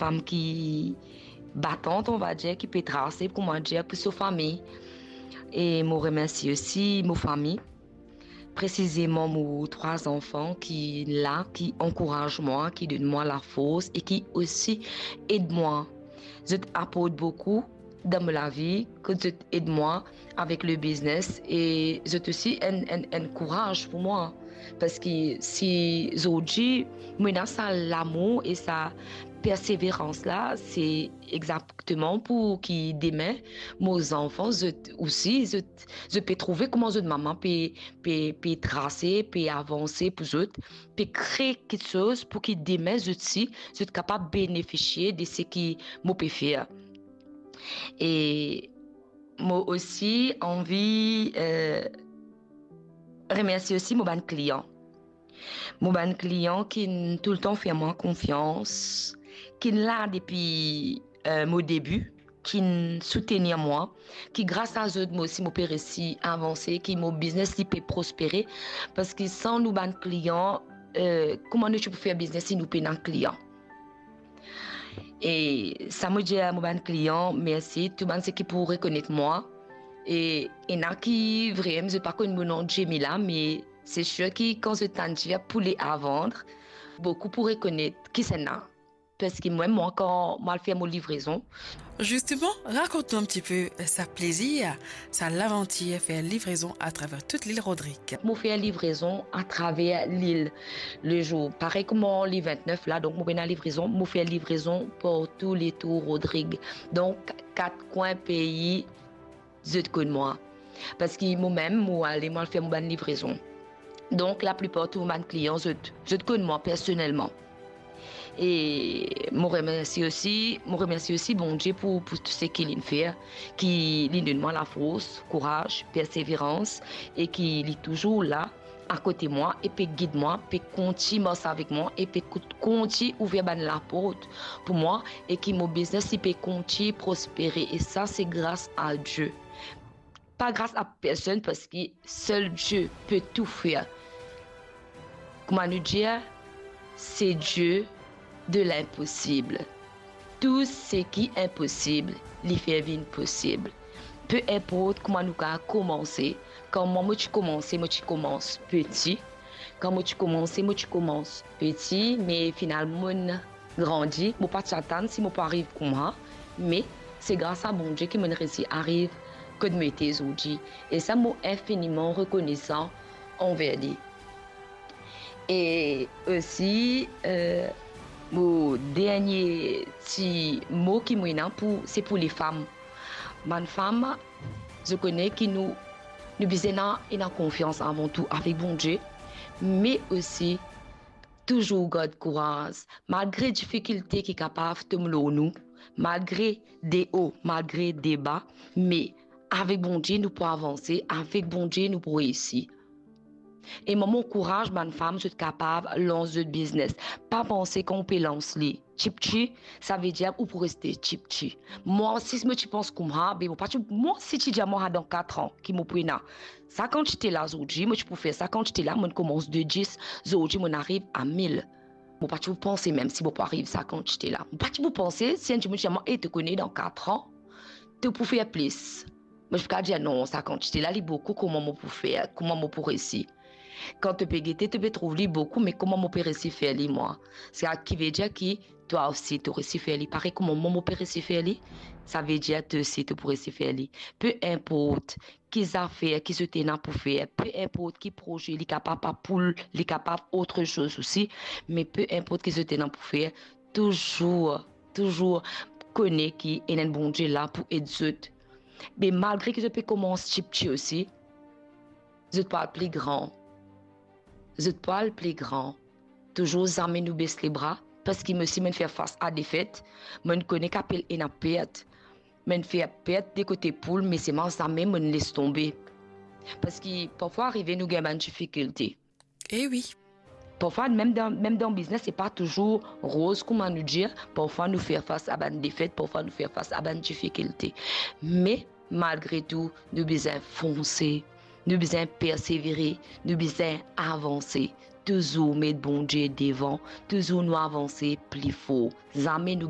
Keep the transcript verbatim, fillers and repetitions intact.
fam ki batant, on va dir, ki pe trase, kouma dir, pou so fami. E mo remersie osi mo fami, presizeman mo trwa zanfan ki la, ki ankouraz mwa, ki donn mwa lafors e ki osi ed mwa. Zot aport boukou dan mo lavi, kot zot ed mwa avek le biznes e zot osi enn, enn, enn kouraz pou mwa. Parski si zordi mo ena sa lamour e sa perseverans la, se exakteman pou ki demin mo zanfan, zot osi, zot, zot pe trouve kouma zot mama pe, pe, pe trase, pe avanse pou zot, pe kre kiksoz pou ki demin zot si, zot kapav benefisie de seki mo pe fer. E mo osi anvi, eh, remersie osi mo bann klian. Mo bann klian ki'nn toultan fer mwa konfians, ki'nn la depi, eh, mo debi, ki'nn soutenir mwa, ki gras a zot mo osi mo pe resi avanse, ki mo biznes li pe prospere, parski san nou bann klian, eh, kouma nou ti pou fer biznes si nou pena klian? E sa mo dir a mo bann klian, mersi, tou bann seki pou rekonet mwa. E ena ki vremem, zot pa konn mo nom Djemila, me se sir ki kan zot tann dir Poulet à vendre, boukou pou rekonet kisannla. Parski mwa, mwa, kan mo al fer mo livrezon. Justement, rakont nou enn tipe sa plezir, sa lavantir fer livrezon atraver tout lil Rodrig. Mo fer livrezon atraver lil lezour. Parey kouma le vintnef la, donk mo pena livrezon, mo fer livrezon partou letour Rodrig. Donk, kat kwin pei, zot konn mwa. Parski momem, mo ale, mo al fer mo bann livrezon. Donk, laplipar tou mo bann klian, zot, zot konn mwa personelman. E mo remersie osi, mo remersie osi Bondie pou, pou tou seki li'nn fer, ki li'nn donn mwa lafors, kouraz, perseverans, e ki li touzour la akote mwa e pe gid mwa, pe kontign mars avek mwa e pe kout-, kontign ouver bann laport pou mwa, e ki mo biznes li pe kontign prospere, e sa se gras a Die. Pa gras a personn, parski sel Die pe tou fer. Kouma nou dir, se Die de linposib. Tou seki inposib, li fer vinn posib. Pe inport kouma nou kapav koumanse, kan mwa mo ti koumanse, mo ti koumans peti. Kan mo ti koumanse, mo ti koumans peti, me finalman mo'nn grandi, mo pa ti atann si mo pou ariv kouma, me se gras a Bondie ki mo'nn resi ariv kot mo ete zordi. E sa, mo infiniman rekonesan anver li. E osi, eh, mo dernie ti mo ki mo ena pou, se pou lefam. Bann fam, zot kone ki nou, nou bizin ena, ena konfians avan tou avek Bondie, me osi touzour gard kouraz, malgre difikilte ki kapav tom lor nou, malgre deo, malgre deba, me avek Bondie nou pou avanse, avek Bondie nou pou reisi. E mwa, mo ankouraz bann fam, zot kapav lans zot biznes. Pa panse kan ou pe lans li tipti, savedir ou pou reste tipti. Mwa, si mo ti pans koumsa, be mo pa ti, mwa, si ti dir mwa, dan katran ki mo pou ena sa kantite la zordi, mo ti pou fer sa kantite la, mo'nn koumans de dis, zordi mo'nn ariv a mil. Mo pa ti pou panse mem si mo pou ariv sa kantite la. Mo pa ti pou panse si enn dimoun ti dir mwa, "E, to kone dan katran, to pou fer plis." Mo ti pou kapav dir, "Non, sa kantite la, li boukou, kouma mo pou fer, kouma mo pou reisi?" Kan to pe gete, to pe trouv li boukou, me kouma mo pe reisi fer li, mwa? Sa ki vedir ki twa osi, to reisi fer li. Parey kouma mwa, mo pe reisi fer li, savedir twa osi, to pou reisi fer li. Pe inport ki zafer ki zot ena pou fer, pe inport ki proze, li kapav pa poul, li kapav otre soz osi, me pe inport ki zot ena pou fer, touzour, touzour kone ki ena enn Bondie la pou ed zot. Me malgre ki zot pe koumans tipti osi, zot pou al pli gran. Zot pou al pli gran. Touzour zame nou bes lebra, parski mo osi mo'nn fer fas a defet, mo'nn kone ki apel ena pert. Mo'nn fer pert de kote poul, me selman zame mo'nn les tonbe. Parski parfwa arive nou gagn bann difikilte. E wi. Parfwa, mem dan, mem dan biznes, se pa touzour roz, kouma nou dir. Parfwa, nou fer fas a bann defet, parfwa, nou fer fas a bann difikilte. Me, malgre tou, nou bizin fonse, nou bizin persevere, nou bizin avanse. Touzour met Bondie devan, touzour nou avanse pli for. Zame nou